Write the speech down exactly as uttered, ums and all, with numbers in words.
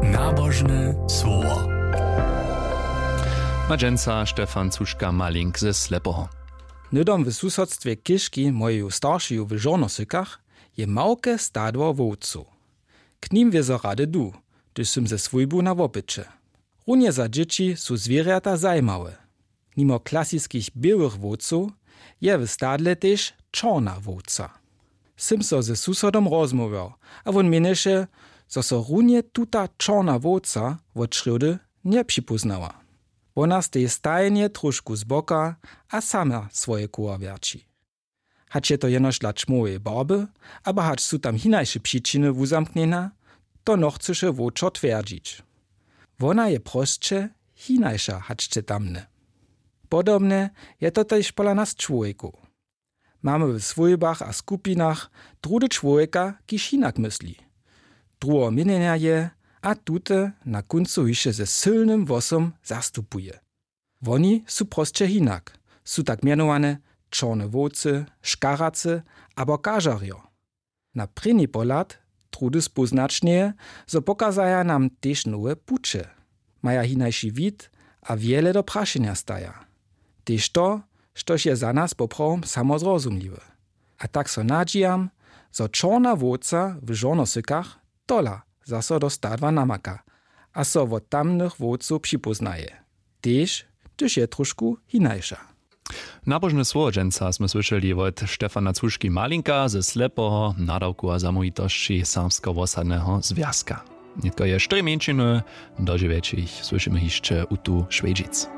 Nabožne słowo. Ma dźensa Stefan Cuška Malink ze Slepoho. Hnydom w susodstwje chěžki mojeju staršeju w Žornosykach je małke stadło wowcow. K nim wězo rady du, hdyž sym ze swójbu na wopyće. Runje za dźěći su zwěrjata zajimawe. Nimo klasiskich běłych wowcow je w stadle tež čorna wowca. Sym so ze susodom rozmołwjał, a wón měnješe, zo so runje tuta čorna wowca wot črjódy njepřipóznała. Wona steji stajnje tróšku zboka a sama swoje koła wjerći. Hač je to jenož dla čmołeje barby, abo hač su tam hinaše přičiny wuzamknjena, to nochcyše wowčor twjerdźić. Wona je prosće hinaša hač će tamne. Podobne je to tež pola nas čłowjekow. Mamy w swójbach a skupinach druhdy čłowjeka, kiž hinak mysli, druheho měnjenja je, a tute na kóncu hišće ze sylnym hłosom zastupuje. Woni su prosće hinak, su tak mjenowane čorne wowcy, škaracy abo kažarjo. Na prěni pohlad druhdy spóznaćnje, zo pokazaja nam tež nowe puće, maja hinaši wid a wjele do prašenja staja. Tež to, štož je za nas poprawom samozrozumliwe. A tak so nadźijam, zo čorna wowca w Žornosykach tola zaso do stadła namaka a so wot tamnych wowcow připóznaje, tež hdyž je tróšku hinaša. Nabožne słowo dźensa smy słyšeli wot Stefana Cuški Malinka ze Slepoho, nadawku a zamołwitosći Serbskeho wosadneho zwjazka. Nětko je štyri mjeńšiny, do dźewjećich słyšimy hišće Utu Šwjedźic.